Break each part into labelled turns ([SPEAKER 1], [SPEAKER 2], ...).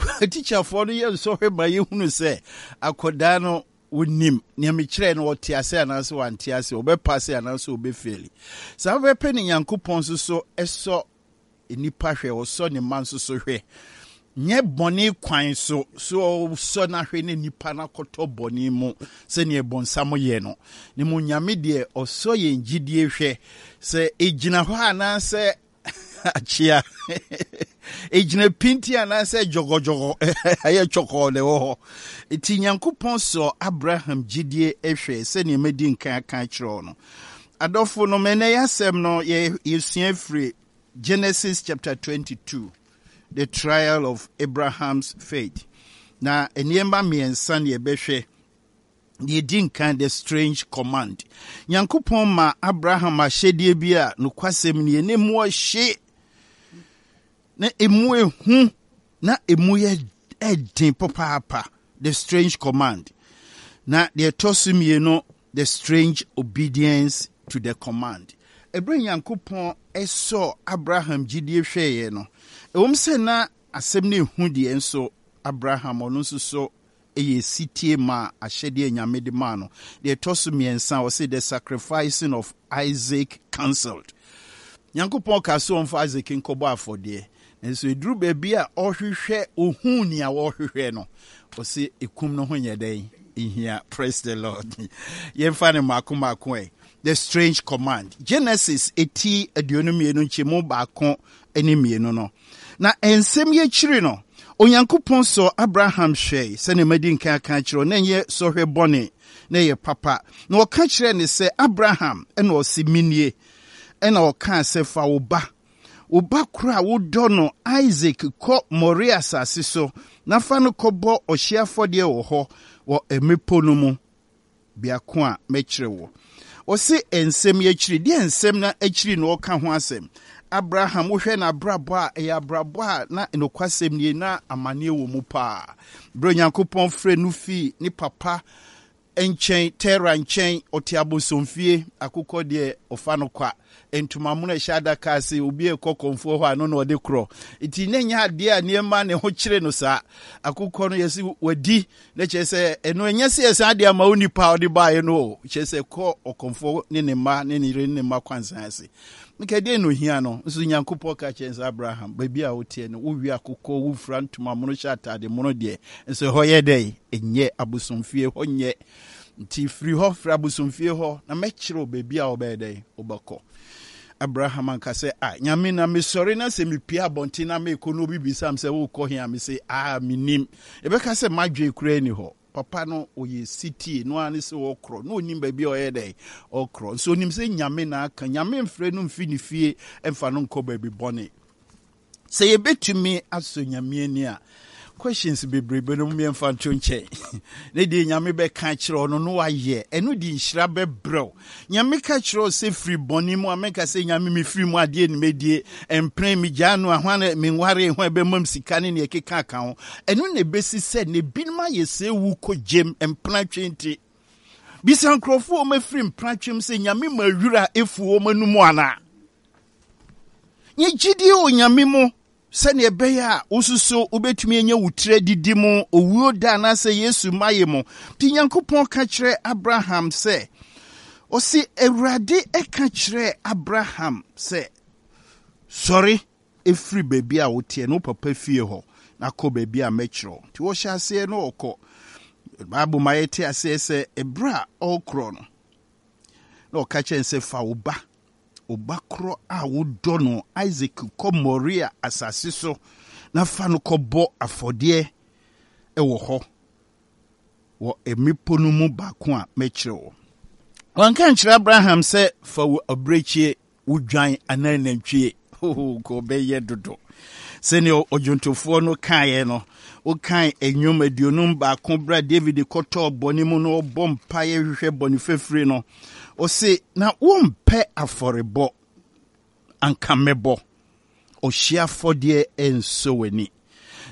[SPEAKER 1] Sukuu atikyafoɔ no yɛ nsɔhwɛ ma yɛhunu sɛ akwadaa no Wonim nea mekyerɛɛ no, ɔte ase anaasɛ wante ase, ɔbɛpase anaasɛ ɔbɛfeeli. Saa pɛpɛpɛ na Nyankopɔn nso so sɔ nnipa hwɛ, ɔsɔ ne mma nso so hwɛ. Nyɛ bɔne kwan so, so ɔsɔ no ahwɛ na nnipa no akɔtɔ bɔne mu sɛdeɛ bɔnsam yɛ no. Ne mu Nyame deɛ ɔsɔ yɛn gyidie hwɛ sɛ ɛgyina hɔ anaasɛ akyea ɛgyina pinti anaasɛ dwɔgɔdwɔgɔ ɛyɛ twɔkɔɔ na ɛwɔ hɔ nti Nyankopɔn sɔ Abraham gyidie hwɛ sɛdeɛ madi nkan aka akyerɛ no. Adɔfo no, mɛnɛ yɛ asɛm no yɛsua firi Genesis chapter 22, the trial of Abraham's faith. Na nneɛma mmiɛnsa na yɛbɛhwɛ. Deɛ ɛdi nkan, the strange command. Nyankopɔn ma Abraham ahyɛdeɛ bi a nokwasɛm nie, na emu ɔhye, na emu ehu, na emu yɛ ɛden papaapa. The strange command. Na deɛ ɛtɔ so mmienu, the strange obedience to the command. Ɛberɛ Nyankopɔn sɔɔ Abraham gyidie hwɛeɛ no, ɛwom sɛ na asɛm no ehu deɛ, nso Abraham ɔno nso so yɛ setie maa ahyɛdeɛ a Nyame de maa no. Deɛ ɛtɔ so mmiɛnsa, ɔse the sacrificing of Isaac cancelled. Nyankopɔn kaa sɛ ɔmfa Isaac nkɔbɔ afɔdeɛ, nanso ɛduru baabi a ɔhwehwɛ, ɔhuu nea ɔhwehwɛ no, ɔse ɛkum no ho nyɛ dɛn? Nhia. Praise the Lord. Yɛmfa no mmaako mmaako ɛ. The strange command. Genesis eti 22 nkyɛmu baako ne mmienu no. Na nsɛm yi akyiri no, Onyankopɔn sɔɔ Abraham hwɛe, sɛnea madi nkan aka akyerɛ wo, na ɛnyɛ sɔhwɛ bɔne, na ɛyɛ papa. Na ɔka kyerɛɛ no sɛ, Abraham, ɛnna ɔse, Menie. Ɛnna ɔkaa sɛ, Fa wo ba, wo ba koro a wodɔ no, Isak, kɔ Moria asase so, na fa no kɔbɔ ɔhyeɛ afɔdeɛ wɔ hɔ, wɔ mmepɔ no mu. biako a mɛkyerɛ wo. Ɔse nsɛm yi akyiri, deɛ nsɛm no akyiri na ɔka ho asɛm? Abraham, wohwɛ n'abrabɔ a, ɛyɛ abrabɔ a na nokwasɛm nie, na amaneɛ wɔ mu paa. Berɛ Onyankopɔn frɛ no fii ne papa nkyɛn, Tera nkyɛn, ɔte abosomfie, akokɔ deɛ ɔfa no kwa, ntoma mono ɛhyɛ adaka ase, obi ɛkɔ kɔmfoɔ hɔ a no na ɔde korɔ. Nti na ɛnyɛ adeɛ a nneɛma ne ho kyere no saa. Akokɔ no yɛse wadi, Na kyerɛ sɛ ɛno ɛnyɛ sɛ yɛsan de ama wo nipa a ɔde baeɛ no o, kyerɛ sɛ kɔ ɔkɔmfoɔ ne ne mma ne ne yere ne ne mma kwansan ase. Nka deɛ na ohia no, nso Nyankopɔn ka kyerɛ sɛ Abraham, baabi a woteɛ no, wowie akokɔ, wofura ntoma mono, hyɛ atade mono deɛ, nso ɛhɔ yɛ dɛn? Ɛnyɛ abosomfie, hɔ nyɛ. Nti firi hɔ, firi abosomfie hɔ, na mɛkyerɛ wo baabi a wobɛyɛ dɛn? Wobɛkɔ. Abraham anka sɛ, Ah, Nyame, na mesɔre na sɛ mepue abɔnten na mekɔ na obi bisa me sɛ worekɔ he a, mese, Ah, mennim. Yɛbɛka sɛ m'adwene koraa nni hɔ. Papa no, ɔyɛ setie, no ara ne sɛ ɔkorɔ, na ɔnim baabi a ɔyɛ dɛn, ɔkorɔ. Nso ɔnim sɛ Nyame na aka, Nyame mfrɛ no mfi ne fie mfa no nkɔ baabi bɔne. Sɛ yɛbɛtumi asɔ Nyame ani a, questions bebrebe no yɛmfa nto nkyɛn. Ne deɛ Nyame bɛka akyerɛ wo no na wayɛ, ɛno de nhyira bɛbrɛ wo. Nyame ka kyerɛ wo sɛ firi bɔne mu a, menka sɛ Nyame mefiri mu adeɛ ne mɛdie, mpene, megyaa no a, hwan na menwaree, hwan ɛbɛma me sika ne neɛ ɛkeka ka ho. Ɛno na ɛbɛsi sɛ na ebinom ayɛ sɛ wu kɔ gyem, mpena twe nti. Bisa nkurɔfoɔ a wɔafiri mpena twem sɛ Nyame ma wira efu wɔn anum anaa? Nyɛ gyidie wɔ Nyame mu sɛdeɛ ɛbɛyɛ a wo nso so wobɛtumi anya wo tiri adidi mu owuo da anaasɛ Yesu mayɛ mu. Nti Nyankopɔn ka kyerɛ Abraham sɛ, ɔse Awurade ka kyerɛɛ Abraham sɛ, sɔre ɛfiri baabi a woteɛ no wo papa fie hɔ na kɔ baabi a mɛkyerɛ wo. Nti wɔhyɛ aseɛ na ɔkɔ. Bible ma yɛte aseɛ sɛ ɛberɛ a ɔrekorɔ no, na ɔka kyerɛ no sɛ fa wo ba Wo ba korɔ a wodɔ no, Isak, kɔ Moria asase so na fa no kɔbɔ afɔdeɛ wɔ hɔ, wɔ mmepɔ no mu baako a mɛkyerɛ wo. Wanka ankyerɛ Abraham sɛ fa wo abirekyie, wo dwan anaa nantwie. Nka ɔbɛyɛ dodo. Sɛnea ɔdwontofoɔ no kaeɛ no, wokan Nnwom 51 berɛ a David kɔtɔɔ bɔne mu na ɔbɔ mpaeɛ hwehwɛ bɔne fafire no, Ɔse, na wompɛ afɔrebɔ, anka mɛbɔ. Ɔhyeɛ afɔdeɛ nsɔ w'ani.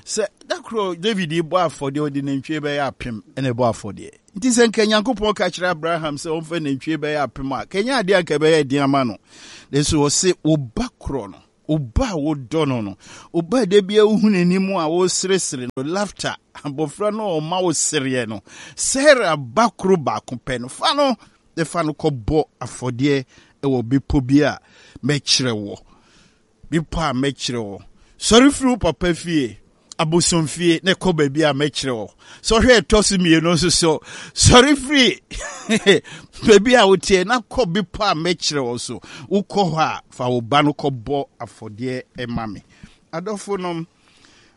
[SPEAKER 1] Sɛ da koro David bɔ afɔdeɛ, ɔde nantwie bɛyɛ apem na ɛbɔ afɔdeɛ. Nti sɛ nka Nyankopɔn ka kyerɛ Abraham sɛ ɔmfa nantwie bɛyɛ apem a, kɛnyɛ adeɛ anka ɛbɛyɛ den ama no. Nanso ɔse, wo ba korɔ no. Wo ba a wodɔ no no, wo ba a da biara wohu n'anim a woseresere no, laughter, abɔfra no a ɔma wo sereɛ no, Sarah ba koro baako pɛ no, fa no na fa no kɔbɔ afɔdeɛ wɔ bepɔ bi a mɛkyerɛ wɔ. Bepɔ a mɛkyerɛ wo. Sɔre firi wo papa fie, abosomfie, na kɔ baabi a mɛkyerɛ wo. Sɔhwɛ ɛtɔ so mmienu nso so, sɔre firi baabi a woteɛ na kɔ bepɔ a mɛkyerɛ wo so. Wokɔ hɔ a, fa wo ba no kɔbɔ afɔdeɛ ma me. Adɔfo nom,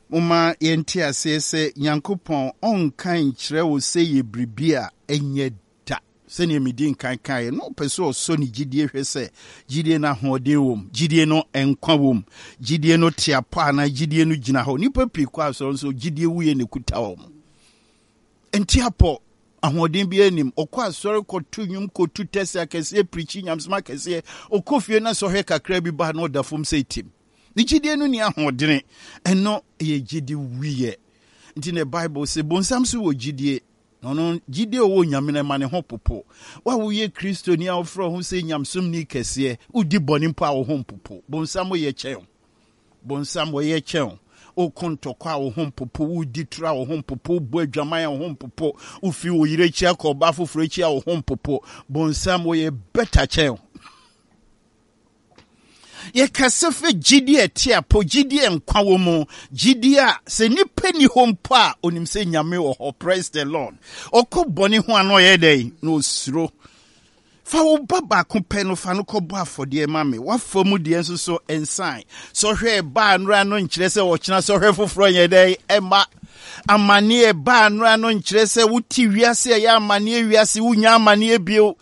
[SPEAKER 1] momma yɛnte aseɛ sɛ Nyankopɔn ɔnka nkyerɛ wo sɛ yɛ biribi a ɛnyɛ da. Sɛnea midii nkan kaeɛ no, ɔpɛ sɛ ɔsɔ ne gyidie hwɛ sɛ gyidie no ahoɔden wom, gyidie no nkwa wom, gyidie no te apɔ anaa gyidie no gyina hɔ. Nnipa pii kɔ asɔre nso gyidie wuiɛ na ɛkuta wɔn. Nte apɔ, ahoɔden biara nnim. Ɔkɔ asɔre kɔto nnwom, kɔtu tɛsɛ akɛseɛ, pirikyi nyamesom akɛseɛ. Ɔkɔ fie na sɔhwɛ kakra bi ba na ɔda fam sɛ tim. Ne gyidie no nni ahoɔdene. Ɛno yɛ gyidi wuiɛ. Nti na Bible se bonsam so wɔ gyidie. Na ɔno, gyidie a ɔwɔ Onyame no, ɛma ne ho popo. Wo a woyɛ Kristoni a wofrɛ wo ho sɛ nyamesomni kɛseɛ, wodi bɔne mpo a wo ho mpopo. Bonsam woyɛ kyɛn wo. Bonsam wɔyɛ kyɛn wo. Woko ntɔkwa a wo ho mpopo, wodi toro a wo ho mpopo, wobɔ adwaman a wo ho mpopo, wofi wo yere akyi akɔ ɔbaa foforɔ akyi a wo ho mpopo. Bonsam wɔyɛ better kyɛn wo. Yɛkasa fa gyidi a ɛte apɔ, gyidi a nkwa wɔ mu, gyidi a sɛ nipa ni hɔ mpo a onim sɛ Nyame wɔ hɔ. Praise the Lord. Ɔkɔ bɔne ho a na ɔyɛ dɛn? Na osuro. Fa wo ba baako pɛ no fa no kɔbɔ afɔdeɛ ma me. W'afa mu deɛ nso so nsan. Sɔhwɛ ɛba anora no nkyerɛ sɛ ɔkyena sɔhwɛ foforɔ nyɛ dɛn? Ɛma. Amaneɛ ɛba anora no nkyerɛ sɛ wote wiase a ɛyɛ amaneɛ wiase wonya amaneɛ bio.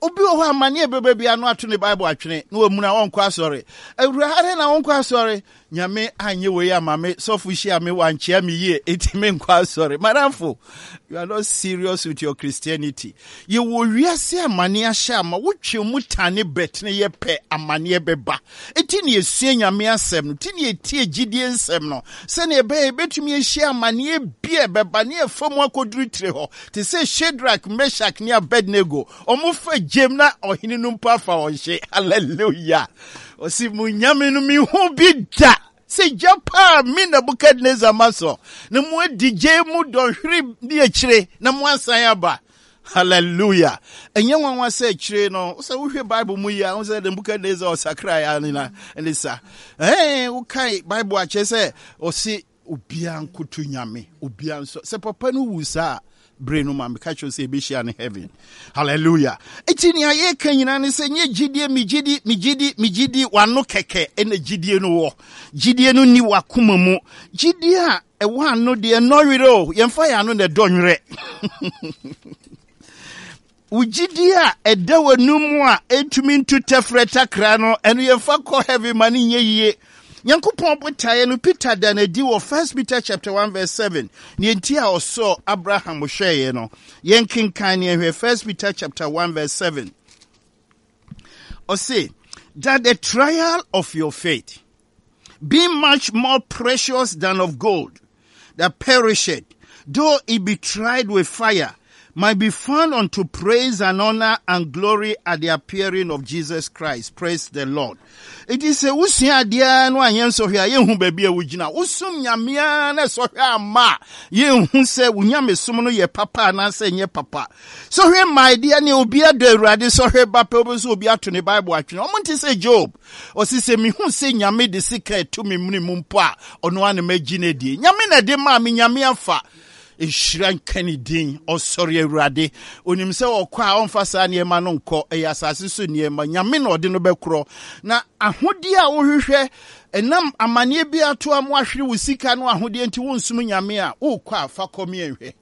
[SPEAKER 1] Obi wɔ hɔ a amanneɛ bɛba biara no ato ne Bible atwene na wamuna ɔnkɔ asɔre. Awura, adɛn na wonkɔ asɔre? Nyame anyɛ wei ama me, sɔfo hyia me, wankyea me yie, enti menkɔ asɔre. Madamfo, you are not serious with your Christianity. Yɛwɔ wiase amanneɛ ahyɛ ama wotwe mu tane bɛtene yɛ pɛ amanneɛ bɛba. Enti na yɛsua Nyame asɛm no, nti na yɛtie gyidie nsɛm no, sɛnea ɛbɛyɛ yɛbɛtumi ahyia amanneɛ bi a ɛbɛba ne yɛfa mu akɔduru tire hɔ. Te sɛ Shadrach, Meshach ne Abednego, wɔfa gyem na ɔhene no mpo afa wɔn hye. Hallelujah! Ɔsi mo nyame no mehu bi da sɛ gya paa me Nebuchadnezzar ma sɔ na mo adi gya mu dɔnhwere ne akyire na mo asan aba. Hallelujah! Ɛnyɛ nwanwa sɛ akyire no sɛ wohwɛ Bible mu yi a wo sɛ Nebuchadnezzar ɔsakrae a ne sa. Ɛɛ wokae Bible akyerɛ sɛ ɔse Obiara nkoto Nyame, obiara nsɔ. Sɛ papa no wu saa bere no ma meka kyerɛ sɛ yɛbɛhyia no heaven. Hallelujah. Enti nea yɛka nyinaa ne sɛ nyɛ gyidie, megyedi, megyedi, megyedi, w'ano kɛkɛ ɛna gyidie no wɔ. Gyidie no nni w'akoma mu. Gyidie a ɛwɔ ano deɛ ɛnnɔ werɛ o, yɛmfa yɛn ano na ɛdɔ nwerɛ. Wo gyidie a ɛda w'anum mu a ɛntumi ntu tɛfrɛ takra no, ɛno yɛmfa kɔ heaven ma no nyɛ yie. Nyankopɔn botaeɛ no, Peter da no adi wɔ 1 Peter chapter 1 verse 7. Nea nti a ɔsɔɔ Abraham hwɛeɛ no, yɛnkenkan ne yɛnhwɛ 1 Peter chapter 1 verse 7. Ɔse, that the trial of your faith, being much more precious than of gold that perisheth, though it be tried with fire, might be found unto praise and honor and glory at the appearing of Jesus Christ. Praise the Lord. It is a wusua adeɛ no anyɛ nsɔhwɛ a yɛnhu baabi a wogyina. Wosom Nyame ara na sɔhwɛ amma a yɛnhu sɛ wo nyamesom no yɛ papa anaasɛ ɛnyɛ papa. Sɔhwɛ mmae deɛ ne obi adɔ Awurade sɔhwɛ ba pɛ wobɛhu sɛ obi ato ne Bible atwene. Ɔmo nte sɛ Job. Ɔse sɛ mehu sɛ Nyame de sika ɛto me mene mu mpo a, ɔno ara na magye no adie. Nyame na ɛde maa me, Nyame afa. Nhyira nka ne din. Ɔsɔre Awurade. Onim sɛ ɔkɔ a ɔmfa saa nneɛma no nkɔ. Ɛyɛ asase so nneɛma. Nyame na ɔde no bɛkorɔ. Na ahodeɛ a wohwehwɛ, ɛnam amaneɛ bi ato a moahwere wo sika no ahodeɛ nti wonsom Nyame a, wokɔ a fa kɔ me nhwɛ.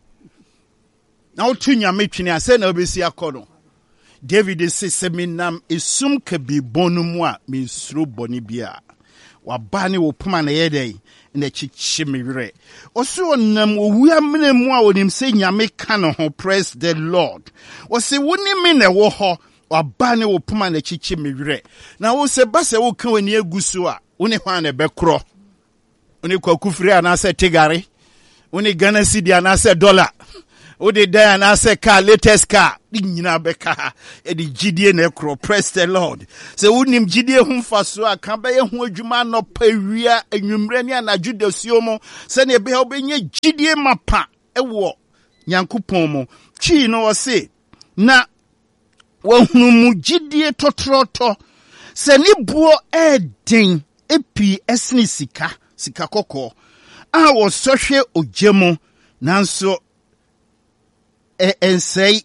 [SPEAKER 1] Na woto Nyame twene a, sɛ na wobɛsi akɔ no. David se, Sɛ menam esum kabii bɔn no mu a, mensuro bɔne biara. W'aba ne wo poma na ɛyɛ dɛn? Na ɛkyekye me werɛ. Ɔse ɔnam owu amena mu a onim sɛ Nyame ka ne ho. Praise the Lord. Ɔse wo ne me na ɛwɔ hɔ. W'aba ne wo poma na ɛkyekye me werɛ. Na wo sɛ ba sɛ woka w'ani agu so a, wo ne hwan na ɛbɛkorɔ? Wo ne Kwaku Firi anaasɛ Tigare? Wo ne Ghana cedi anaasɛ dɔla? Wode dan anaasɛ car, latest car, ne nyinaa bɛka ha. Yɛde gyidie na ɛkorɔ. Praise the Lord. Sɛ wonim gyidie ho mfasoɔ a, ka bɛyɛ ho adwuma anɔpa, awia, anwummerɛ ne anadwo dasuo mu sɛdeɛ ɛbɛyɛ wobɛnya gyidie mapa wɔ Nyankopɔn mu. Twii no ɔse, na wahunu mu gyidie tɔtrɔtɔ sɛ ne boɔ ɛɛden pii ɛsene sika, sika kɔkɔɔ a wɔsɔ hwɛ ogya mu nanso ɛnsɛe,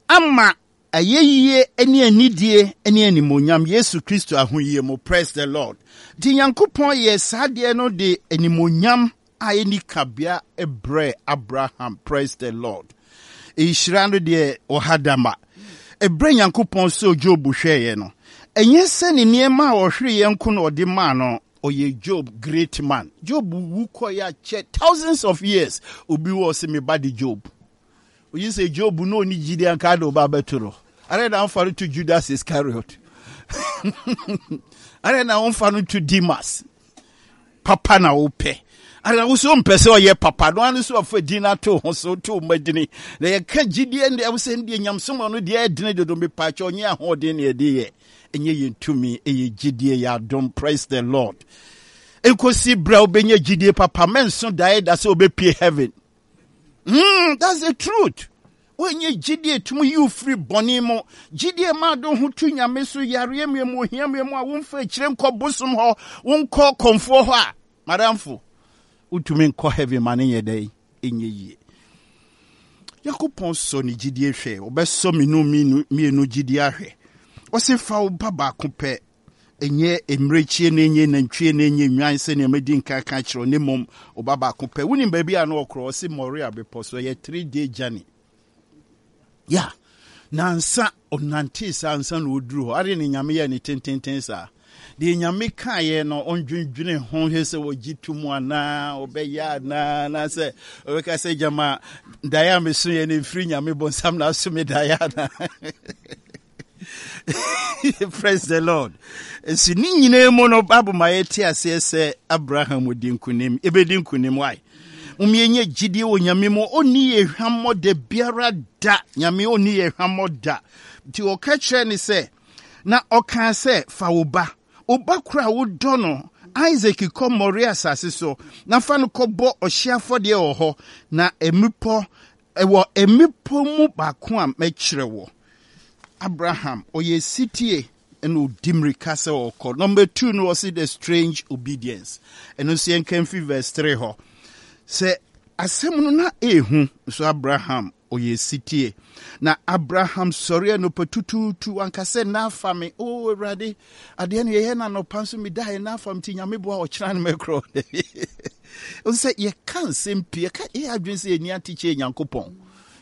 [SPEAKER 1] ama ayɛyie ne anidie ne animuonyam Yesu Kristo ahoyie mu. Praise the Lord. Nti Nyankopɔn yɛɛ saa adeɛ no de animuonyam a ɛnni kabea brɛɛ Abraham. Praise the Lord. Nhyira no deɛ ɔha da ma. Ɛberɛ Nyankopɔn sɔɔ Job hwɛeɛ no, ɛnyɛ sɛ ne nneɛma a ɔhwereeɛ nko na ɔde maa no, ɔyɛ Job great man. Job wu kɔeɛ akyɛ thousands of years. Obi wɔ sɛ me ba de Job. Oyi sɛ Job na ɔni gyidi anka de ɔba abɛto no. Adɛn na womfa no to Judas Iscariot? Adɛn na womfa no to Demas? Papa na wopɛ. Adɛn wo so mpɛ sɛ ɔyɛ papa no ano so afa din ato ho so to mmadini. Na yɛka gyidie ndeɛ wo sɛ ndeɛ nyamsom ɔno deɛ ɛdene dodo mepaakyɛ ɔnyɛ ahoɔden na yɛde yɛ. Ɛnyɛ yɛn tumi, ɛyɛ gyidie, yɛ adom. Praise the Lord. Nkosi berɛ a wobɛnya gyidie papa, mɛnso daeɛ da sɛ wobɛpie heaven. That's the truth. Wonyɛ gyidie tumi yi wo firi bɔne mu. Gyidie ma ade ho to nyame so yareɛ mmerɛ mu ohia mmerɛ mu a womfa akyire nkɔ bosom hɔ, wonkɔ kɔmfoɔ hɔ a, madamfo, wotumi nkɔ heaven ma ne nyɛ dɛn ɛnyɛ yie. Nyankopɔn sɔ ne gyidie hwɛ, ɔbɛsɔ me no mmienu gyidie ahwɛ. Ɔse fa wo ba baako pɛ Ɛnyɛ mmirekyie na ɛnyɛ nantwie na ɛnyɛ nnwan sɛnea madi nkan aka akyerɛ wo, na mmom wo ba baako pɛ. Wonim baabi a na ɔkorɔ? Ɔse Moria bepɔ so. Ɛyɛ 3 day journey. Ya, nansa ɔnantee saa ansa na ɔduru hɔ. Ade ne Nyame yɛɛ ne tententen saa. Deɛ Nyame kaeɛ no, ɔndwendwene ho hwɛ sɛ ɔgye to mu anaa, ɔbɛyɛ anaa, anaasɛ ɔbɛka sɛ gyama daeɛ a mesoeɛ no mfiri Nyame bonsam na aso me daeɛ anaa. Praise the Lord. Nso ne nyinaa mu no, Bible ma yɛte aseɛ sɛ Abraham di nkonim. Ebedi nkonim why? Mom yɛnyɛ gyidie wɔ Nyame mu. Ɔnni yɛ hwammɔ da biara da. Nyame ɔnni yɛ hwammɔ da. Nti ɔka kyerɛ ne sɛ, na ɔkaa sɛ, fa wo ba, wo ba koro a wodɔ no, Isaac kɔ Moria asase so, na fa no kɔbɔ ɔhyeɛ afɔdeɛ wɔ hɔ, na mmepɔ Wɔ mmepɔ mu baako a mɛkyerɛ wo. Abraham, ɔyɛ sitie ɛna ɔdi mmirika sɛ ɔkɔ. Number two no ɔsi the strange obedience. Ɛno nso yɛnka mfiri verse three hɔ. Sɛ asɛm no na ehu nso Abraham ɔyɛ sitie. Na Abraham sɔre anɔpa tutuutu anka sɛ na afa me. O Awurade, adeɛ no yɛyɛ no anɔpa nso medaeɛ na afa me nti Nyame boa ɔkyena no mɛkorɔ. Ɛwɔ sɛ yɛka nsɛm pii, yɛka yɛyɛ adwene sɛ yɛni atekyɛ Nyankopɔn.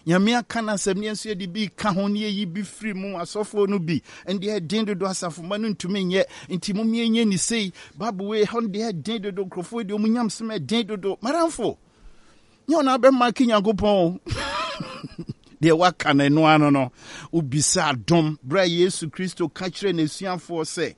[SPEAKER 1] Nyame aka no asɛm ne yɛn nso yɛde bi ka ho ne yɛyi bi firi mu asɔfoɔ no bi ɛndeɛ ɛden dodo asafomma no ntumi nyɛ nti mom yɛnyɛ ne sei Bible wei ɛhɔ no deɛ ɛden dodo nkurɔfoɔ deɛ ɔmu nyamsɛm ɛden dodo madamfo nyɛ ɔna abɛma ke Nyankopɔn o deɛ waka no ɛno ano no wobisa adom berɛ a Yesu Kristo ka kyerɛ n'asuafoɔ sɛ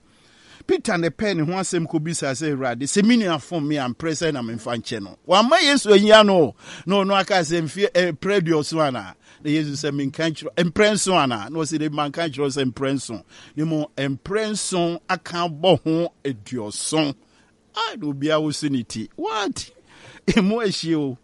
[SPEAKER 1] Peter na ɛpɛɛ ne ho asɛm kɔbisaa sɛ, Awurade, sɛ me nua fom me a, mprɛ sɛn na memfa nkyɛ no? Wamma Yesu anyia no, na ɔno aka sɛ, mfeɛ eh, mprɛ aduɔson anaa? Na Yesu sɛ, menka nkyerɛ mprɛ nson anaa? Na ɔsɛ, dabi, manka nkyerɛ sɛ mprɛ nson, na mmom mprɛ nson aka abɔ ho aduɔson. Ah, na obiara woso ne ti. What? Emu ahyie o.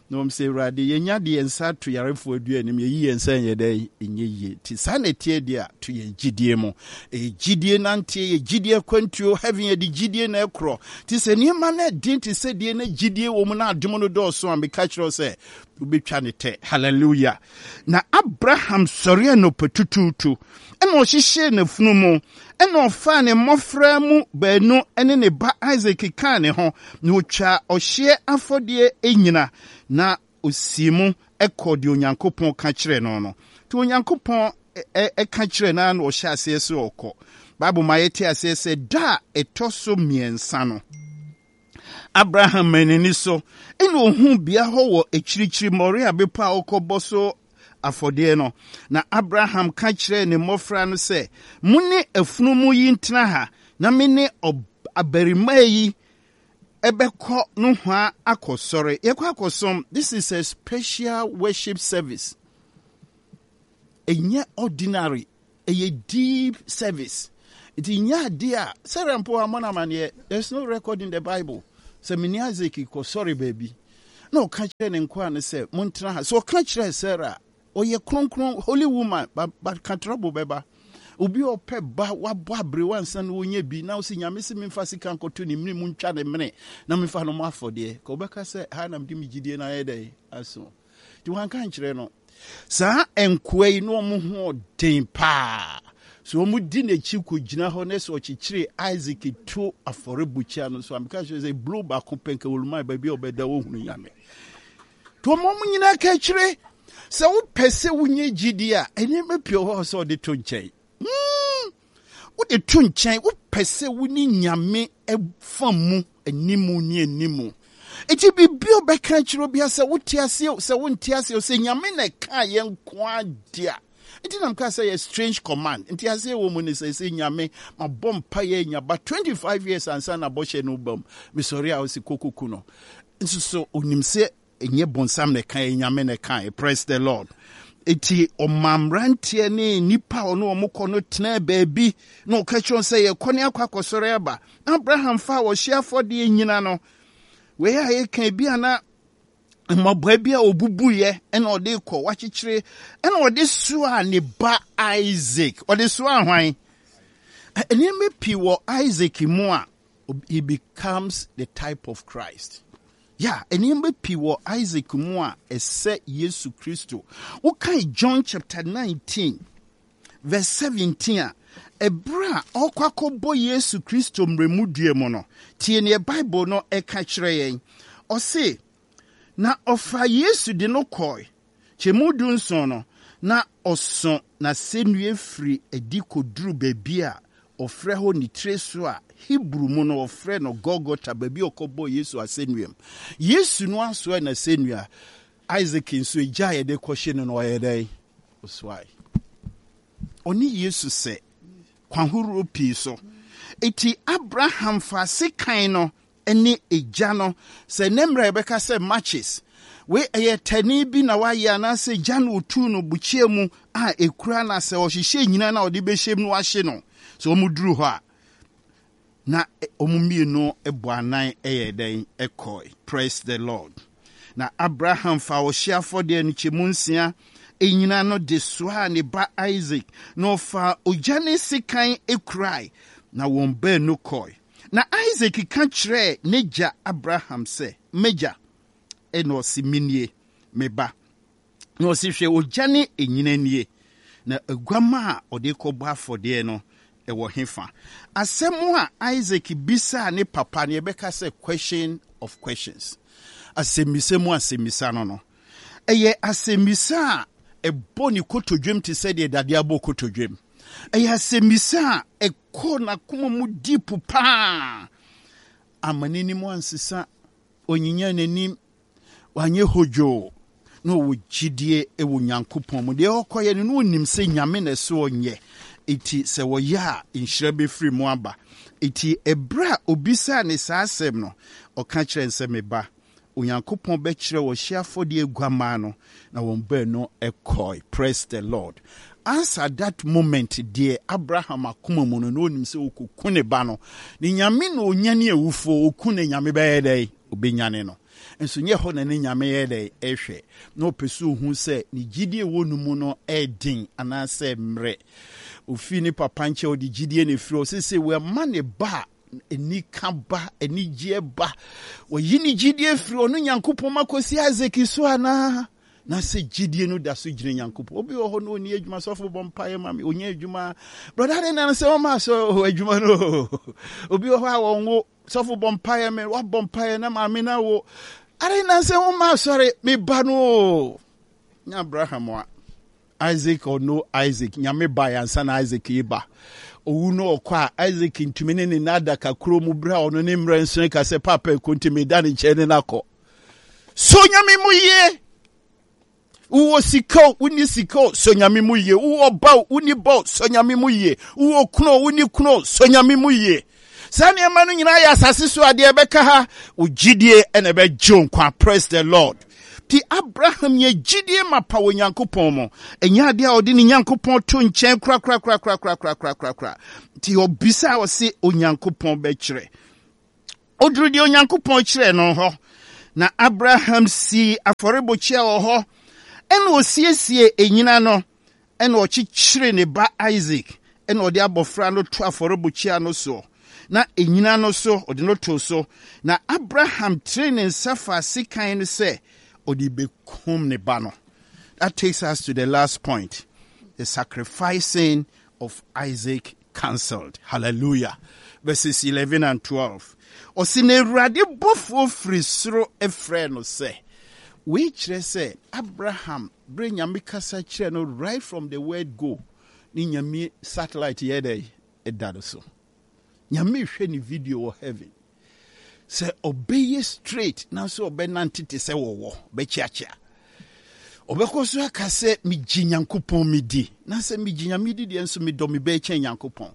[SPEAKER 1] Na wɔn sɛ, Awurade, yɛnya de yɛn nsa ato yarefoɔ adua anim, yɛyi yɛn nsa nyɛ dɛn? Ɛnyɛ yie. Nti saa na ɛteɛ deɛ a, to yɛn gyidie mu. Ɛyɛ gyidie nanteɛ, yɛ gyidie akwantuo, heaven yɛde gyidie na ɛkorɔ. Nti sɛ nneɛma no ɛden te sɛ deɛ na gyidie wɔ mu na adom no dɔɔso a, meka kyerɛ wo sɛ, wobɛtwa ne tɛ. Hallelujah. Na Abraham sɔre anɔpa tutuutu, ɛna ɔhyehyɛɛ n'afunumu, ɛna ɔfaa ne mmɔfra mu baanu ne ne ba Isak kaa ne ho, na ɔtwaa ɔhyeɛ afɔdeɛ nnyina, na ɔsii mu kɔɔ deɛ Onyankopɔn ka kyerɛɛ no no. Nti Onyankopɔn ka kyerɛɛ no ara na ɔhyɛ aseɛ sɛ ɔkɔ. Bible ma yɛte aseɛ sɛ da a ɛtɔ so mmiɛnsa no, Abraham maa n'ani so na ohuu bea hɔ wɔ akyirikyiri Moria bepɔ a ɔkɔbɔ so afɔdeɛ no. Na Abraham ka kyerɛɛ ne mmɔfra no sɛ, Mo ne afunumu yi ntena ha, na me ne abarimaa yi Ɛbɛkɔ nohoa akɔsɔre. Yɛkɔ akɔsom. This is a special worship service. Ɛnyɛ ordinary. Ɛyɛ deep service. Nti nyɛ adeɛ a Sarah mpo ammɔ no amaneɛ. There's no record in the Bible sɛ mene Isaac kɔsɔre baabi. Na ɔka kyerɛ ne nkoa no sɛ montena ha. Sɛ ɔka kyerɛ Sarah a, ɔyɛ kronkron, holy woman, but, but ka trouble bɛba. Obi a ɔpɛ ba, wabɔ aberewa ansa na ɔnya bi, na ɔsɛ Nyame sɛ memfa sika nkɔto ne mene mu ntwa ne mene na memfa no mmɔ afɔdeɛ. Ka ɔbɛka sɛ ha na mede me gyidie no ayɛ dɛn aso. Nti wanka nkyerɛ no. Saa nkoa yi na wɔn ho ɔden paa. So wɔn di n'akyi kɔgyina hɔ na sɛ ɔkyekyere Isaac to afɔrebukyia no so a, meka kyerɛ sɛ blow baako pɛ nka wɔluman baabi a ɔbɛda wɔhunu Nyame. Nti wɔn nyinaa ka akyire sɛ wopɛ sɛ wonya gyidie a, nneɛma pii wɔ hɔ sɛ ɔde to nkyɛn. Wode to nkyɛn, wopɛ sɛ wo ne Nyame fa mu animu ne animu. Nti biribi a ɔbɛka akyerɛ obi sɛ wote aseɛ o, sɛ wonte aseɛ o, sɛ Nyame na ɛka yɛn nko ara a. Nti na meka sɛ yɛ strange command. Nti aseɛ wɔ mu ne sɛ sɛ Nyame mabɔ mpaeɛ anya ba 25 years ansa na bɔhyɛ no ba mu. Mesɔre a ɔse kɔkɔku no. Nso so onim sɛ Ɛnyɛ bonsam na ɛkae, Nyame na ɛkae. Praise the Lord. Eti ɔma mmeranteɛ ne nnipa a ɔne wɔn kɔ no tenaa baabi na ɔka kyerɛ wɔn sɛ yɛkɔ ne akɔ akɔsɔre aba. Abraham fa a ɔhye afɔdeɛ nyina no, wei a yɛka bi a na mmɔbɔa bi a ɔbubuiɛ ɛna ɔde kɔ wakyekyere ɛna ɔde soaa ne ba Isaac. Ɔde soaa hwan? Nneɛma pii wɔ Isaac mu a he becomes the type of Christ. Yeah, nneɛma pii wɔ Isaac mu a ɛsɛ Yesu Kristo. Wokae John chapter 19 verse 17 a, ɛberɛ a ɔrekɔ akɔbɔ Yesu Kristo mmerɛmudua mu no, tie neɛ Bible no ɛka kyerɛ yɛn. Ɔse, na ɔfaa Yesu de no kɔe Kyɛmu dunson no, na ɔso n'asɛnnua firi adi kɔduru baabi a wɔfrɛ hɔ ne tire so a Hebri mu no wɔfrɛ no Golgota, baabi a wɔkɔbɔɔ Yesu asɛnnuam. Yesu no asoɛ n'asɛnnua, Isaac nso egya a yɛde kɔhye no no ɔyɛ dɛn? Ɔsoae. Ɔne Yesu sɛ kwan horoɔ pii so. Eti Abraham faa sekan no ne egya no. Sɛ nnɛ mmerɛ a yɛbɛka sɛ matches. Wei ɛyɛ tani bi na wayɛ anaasɛ gya na otu no bukyia mu a ekura na sɛ ɔhyehyɛ nyina na ɔde bɛhyɛ mu na wahye no. Sɛ wɔn duru hɔ a na wɔn mmienu bɔ anan yɛ dɛn kɔe. Praise the Lord. Na Abraham fa ɔhye afɔdeɛ no kyɛmu nsia nyina no de soaa ne ba Isaac, na ɔfaa ogya ne sekan kurae, na wɔn baanu kɔe. Na Isak ka kyerɛɛ n'agya Abraham sɛ, M'agya. Ɛnna ɔse, Menie, me ba. Na ɔse, Hwɛ, ogya ne anyina nie, na aguamma a ɔde rekɔbɔ afɔdeɛ no, ɛwɔ hefa? Asɛm a Isak bisaa ne papa no, yɛbɛka sɛ question of questions. Asɛmmisa mu asɛmmisa no no. Ɛyɛ asɛmmisa a ɛbɔ ne kotodwem te sɛ deɛ dadeɛ abɔ kotodwem. Ɛyɛ asɛmmisa a ɛkɔ n'akoma mu deep paa. Amma n'anim ansesa, ɔnyinya n'anim, wanyɛ hodwoo. Na ɔwɔ gyidie wɔ Nyankopɔn mu. Deɛ ɔkɔyɛ no, na ɔnim sɛ Nyame na ɛsɛ ɔnyɛ. Enti sɛ ɔyɛ a, nhyira bɛfiri mu aba. Enti ɛberɛ a ɔbisaa ne saa asɛm no, ɔka kyerɛɛ no sɛ, Me ba, Onyankopɔn bɛkyerɛ ɔhyeɛ afɔdeɛ aguamaa no, na wɔn baanu kɔe. Praise the Lord. As at that moment deɛ, Abraham akoma mu no, na ɔnim sɛ ɔkɔku ne ba no. Ne Nyame na ɔnyane awufoɔ, ɔku no Nyame bɛyɛ dɛn? Ɔbɛnyane no. Nso nyɛ hɔ na ne Nyame yɛ dɛn? Ɛhwɛ. Na ɔpɛ sɛ ɔhu sɛ ne gyidie ɛwɔ no mu no ɛden anaasɛ mmerɛ. Ɔfii ne papa nkyɛn, ɔde gyidie na ɛfiri hɔ. Seesei wama ne ba a anika ba, anigyeɛ ba. Wɔyi ne gyidie firi ɔno Nyankopɔn ma kɔsi Isaac so anaa? Na sɛ gyidie no da so gyina Nyankopɔn. Obi wɔ hɔ na ɔnni adwuma, sɔfo bɔ mpaeɛ ma me, ɔnyɛ adwuma. Brɔda de nan sɛ ɔma sɛ adwuma no. Obi wɔ hɔ a wɔnwo, sɔfo bɔ mpaeɛ me, wabɔ mpaeɛ na maame no awo. Ade nan sɛ ɔma asɔre, me ba no. Nya Abraham a. Isaac or no Isaac, Nyame bae ansa na Isaac reba. Owu no ɔkɔ a, Isaac ntumi ne ne nna adaka koro mu bere a ɔno ne mmerɛ nso ka sɛ paapa ɛkɔ nti meda ne nkyɛn ne no akɔ. So Nyame mu yie. Wowɔ sika o, wonni sika o, so Nyame mu yie. Wowɔ ba o, wonni ba o, so Nyame mu yie. Wowɔ kunu o, wonni kunu o, so Nyame mu yie. Saa nneɛma no nyinaa yɛ asase so adeɛ ɛbɛka ha. Wo gyidie ɛna ɛbɛgye wo nkwa. Praise the Lord. Ti Abraham yɛ gyidie mapa wɔ Nyankopɔn mu. Ɛnyɛ adeɛ a ɔde ne Nyankopɔn to nkyɛn korakorakorakorakorakorakorakora. Nti ɔbisa a ɔse Onyankopɔn bɛkyerɛ. Ɔduru deɛ Onyankopɔn kyerɛɛ no hɔ. Na Abraham sii afɔrebukyia wɔ hɔ, ɛna ɔsiesie anyina no, ɛna ɔkyekyere ne ba Isak, ɛna ɔde abɔfra no to afɔrebukyia no soɔ, na anyina no so ɔde no too so. Na Abraham teree ne nsa faa sekan no sɛ ɔde bɛkum ne ba no. That takes us to the last point, the sacrificing of Isaac cancelled. Hallelujah. Verses 11 and 12. Ɔsi na Awurade bɔfoɔ firi soro frɛɛ no sɛ. Wei kyerɛ sɛ Abraham berɛ Nyame kasa kyerɛ no right from the word go ne Nyame satellite yɛ dɛ ɛda no so. Nyame hwɛ ne video wɔ heaven. Sɛ ɔbɛyɛ straight nanso ɔbɛnante te sɛ wɔwɔ, bɛkyeakyea. Ɔbɛkɔ so aka sɛ megye Nyankopɔn medi, na sɛ megye Nyame di deɛ nso medɔ me bɛɛ kyɛn Nyankopɔn.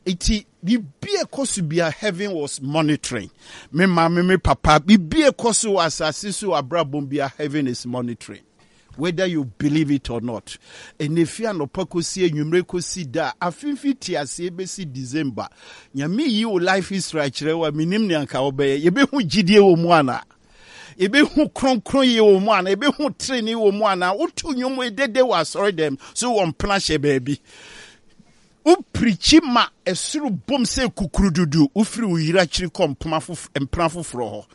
[SPEAKER 1] Eti biribi a ɛkɔ so bia heaven was monitoring. Me maame me papa, biribi a ɛkɔ so wɔ asase so wɔ abrabɔ bia heaven is monitoring. Whether you believe it or not. Ɛnɛ fi anɔpa kɔsi anwummere kɔsi da a afemfi te aseɛ bɛsi December. Nyame yi wo life history akyerɛ wo a menim nea nka wobɛyɛ. Yɛbɛhu gyidie wɔ mu anaa? Yɛbɛhu kronkronyɛ wɔ mu anaa? Yɛbɛhu trenee wɔ mu anaa? Woto nnwom dede wɔ asɔre dɛm so wɔ mpena hyɛ baabi. Wopirikyi ma ɛsoro bom sɛ kukurududu, wofiri wo yere akyiri kɔ mpena foforɔ hɔ.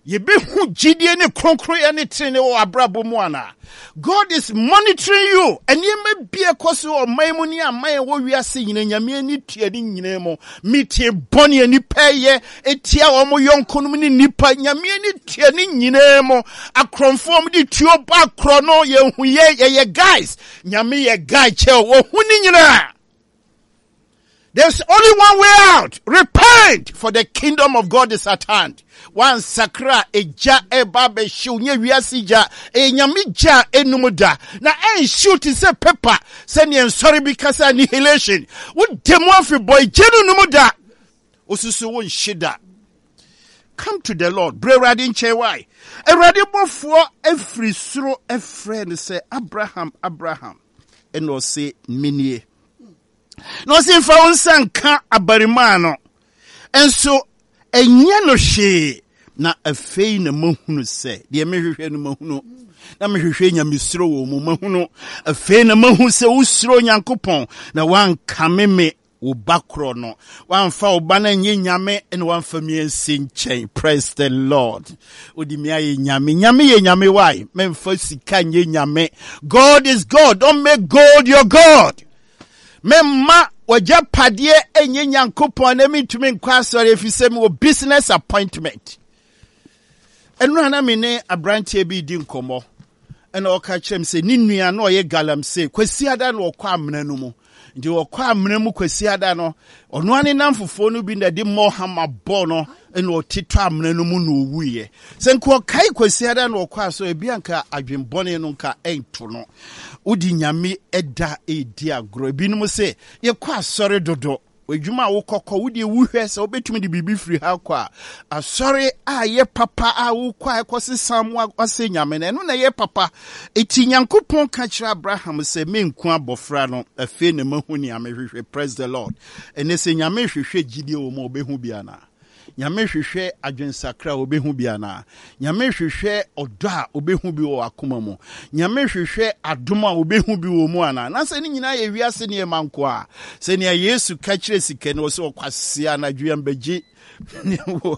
[SPEAKER 1] Yɛbɛhu gyidie ne kronkronyɛ ne trenee wɔ abrabɔ mu anaa? God is monitoring you. Nneɛma bi ɛkɔ so ɔman mu ne aman ɛwɔ wiase nyina Nyame ani tua ne nyinaa mu. Meeting bɔne a nnipa yɛ etia wɔn yɔnkonom ne nnipa Nyame ani tua ne nyinaa mu. Akorɔmfoɔ wɔn de tuo bɔ akorɔ no yɛhu yɛ yɛyɛ guys. Nyame yɛ guy kyɛw wɔhu ne nyinaa. There's only one way out. Repent, for the kingdom of God is at hand. Wansakra egya ɛba abɛhyew nyɛ wiase gya, ɛyɛ nyame gya a enum da. Na ɛnhyew te sɛ paper sɛnea nsɔre bi kasa annihilation. Wode mu afebɔɔ egya no num da. Osusu wo nhye da. Come to the Lord. Brɛ Awurade nkyɛn wae. Awurade bɔfoɔ afiri soro ɛfrɛ no sɛ Abraham, Abraham. Ɛna ɔse menie. Na ɔse mfa wo nsa nka abarimaa no nso ɛnyɛ no hwee. Na afei na mahunu sɛ deɛ mehwehwɛ no mahunu, na mehwehwɛ nyamesuro wɔ mu mahunu. Afei na mahu sɛ wosuro Onyankopɔn, na woankame me wo ba korɔ no, woamfa wo ba no anyɛ nyame, na woamfa me ansi nkyɛn. Praise the Lord. Wode me ayɛ nyame. Nyame yɛ nyame why? Memfa sika nyɛ nyame. God is God. Don't make gold your God. Memma w'agyapadeɛ nyɛ Nyankopɔn na mentumi nkɔ asɔre ɛfiri sɛ mewɔ business appointment. Ɛno a na me ne aberanteɛ bi redi nkɔmmɔ ɛna ɔka kyerɛ me sɛ ne nua na ɔyɛ galamsey kwasiada na ɔkɔ amena no mu nti ɔkɔ amena mu kwasiada no ɔno ane namfofoɔ no bi na ɛde mmɔ hama bɔ no ɛna ɔtetɔ amena no mu na ɔwuiɛ sɛ nka ɔkae kwasiada na ɔkɔ asɔ ebi anka adwenbɔne no nka ɛnto no Wode Nyame da redi agorɔ. Ebinom se, yɛkɔ asɔre dodo. Adwuma a wokɔkɔ, wodeɛ wuhwɛ sɛ wobɛtumi de biribi firi ha kɔ a, asɔre a ɛyɛ papa a wokɔ a ɛkɔsesa mu asɛ Nyame no, ɛno na ɛyɛ papa. Eti Nyankopɔn ka kyerɛ Abraham sɛ, menku abɔfra no, afei na mahu nea mehwehwɛ. Praise the Lord. Ɛnɛ sɛ Nyame hwehwɛ gyidie wɔ mu a, ɔbɛhu bi anaa? Nyame hwehwɛ adwensakra a obehu bi anaa? Nyame hwehwɛ ɔdɔ a obehu bi wɔ w'akoma mu? Nyame hwehwɛ adom a obehu bi wɔ mu anaa? Na sɛ ne nyinaa yɛ wiase nneɛma nko a, sɛnea Yesu ka kyerɛ sikani, ɔsɛ ɔkwasea anadwo yi ambɛgye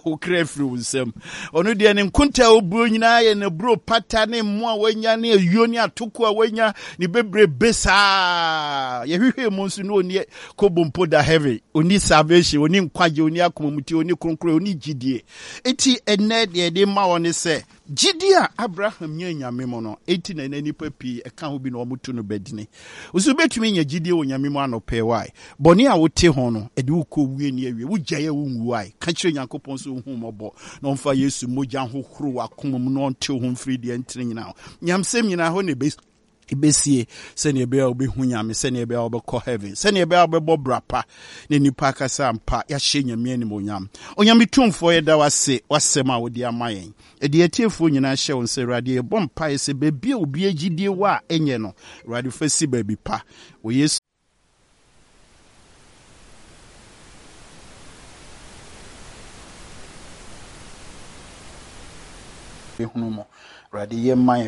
[SPEAKER 1] wo kra afiri wo nsam. Ɔno deɛ ne nkonta a obuo nyinaa yɛ n'aburo pata ne mmoa a wanya ne ayuo ne atoko a wanya ne bebrebe saa. Yɛhwehwɛ mu nso na ɔni kobo mpo da heaven, ɔni salvation, ɔni nkwagye, ɔni akomamutie, ɔni kronkron, ɔni gyidie. Eti ɛnɛ deɛ yɛde ma wɔn ne sɛ gyidie a Abraham nya Nyame mu no, eti na ɛnɛ nnipa pii ɛka ho bi na wɔn to no badini. Nso wobɛtumi anya gyidie wɔ Nyame mu anɔpɛ why? Bɔne a wote ho no, ɛde wo kɔ owuo ni awie. Wogyae a wonwu why? Ka kyerɛ Nyankopɔn sɛ ɔnhu wo mmɔbɔ na ɔmfa Yesu mogya nhohoro w'akoma mu na ɔntew ho mfiri deɛ ɛntene nyinaa ho. Nyamsɛm nyinaa hɔ na ɛbɛsi. Ɛbɛsie sɛnea ɛbɛyɛ a wobɛhu Nyame, sɛnea ɛbɛyɛ a wobɛkɔ heaven, sɛnea ɛbɛyɛ a wobɛbɔ bra pa na nnipa akasa ampa yɛahyɛ Nyame animuonyam. Onyame Tumfoɔ yɛda wo ase w'asɛm a wode ama yɛn. Ɛde atiefoɔ nyinaa hyɛ wo nsa Awurade yɛbɔ mpaeɛ sɛ baabi a obi agyidie wɔ a ɛnyɛ no Awurade fa si baabi pa wɔ Yesu hunu mu. Awurade yɛ ma yɛn.